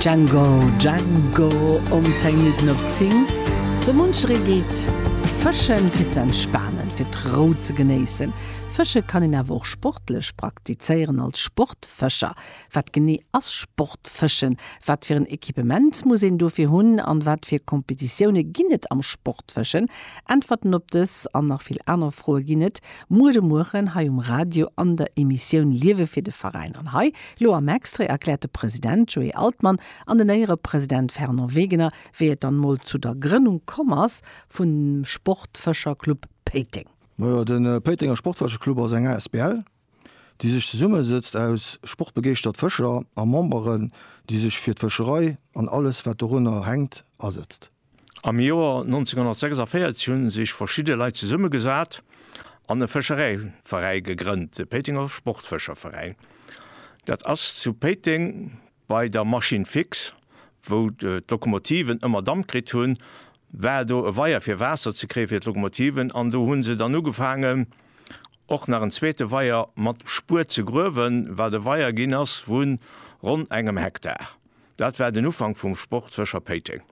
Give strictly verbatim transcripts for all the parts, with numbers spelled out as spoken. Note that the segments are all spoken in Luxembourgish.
Django, Django um zéng Minutten op zéng. Sou muncheree geet fëschen fir ze entspanen, fir d'Rou ze genéissen. Fësche kann een awer och sportlech praktizéieren als Sportfëscher. Wat genee ass Sportfëschen? Wat fir en Equipement muss een dofir hunn an wat fir Kompetitioune ginn et am Sportfëschen? Äntwerten op dës an nach vill aner Froe ginn et muer de Mueren hei um Radio an der Emissioun Liewe fir de Veräin. An hei lo am Extrait erkläert de President Joé Altmann an den Éierepresident Fernand Wegener, wéi et dann mol zu der Grënnung komm ass vum Sportfëscherclub Péiteng. Majo, de Péitenger Sportfëscherclub ass eng asbl, déi sech zesummesetzt aus sportbegeeschtert Fëscher a Memberen, déi sech fir d'Fëscherei an alles wat dorunner hänkt asetzt. Am Joer nonzénghonnertsechsundvéierzeg hu sech verschidde Leit zesummegesat an e Fëscheräiveräi gegrënnt, de Péitenger Sportfëscherveräin. Dat ass zu Péiteng bei der Machine fixe, wou d'Lokomotiven ëmmer Damp kritt hunn, war do e Weier fir Waasser ze kréie fir d'Lokomotiven an do hu se dann ugefaangen och nach en zweete Weier mat Spuet ze gruewen, wat e Weier ginn ass vu ronn engem Hektar. Dat war den Ufank vum Sportfëscher Péiteng.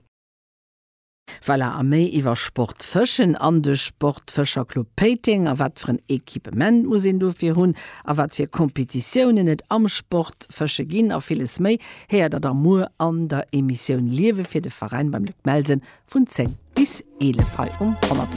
Voilà, a méi iwwer Sportfëschen an de Sportfëscherclub Péiteng a wat fir en Equipement muss een dofir hunn a wat fir Kompetitiounen et am Sportfësche ginn a villes méi héiert der da muer an der Emissioun Liewe fir de Veräin beim Luc Melsen vun zéng bis eelef hei um honnert.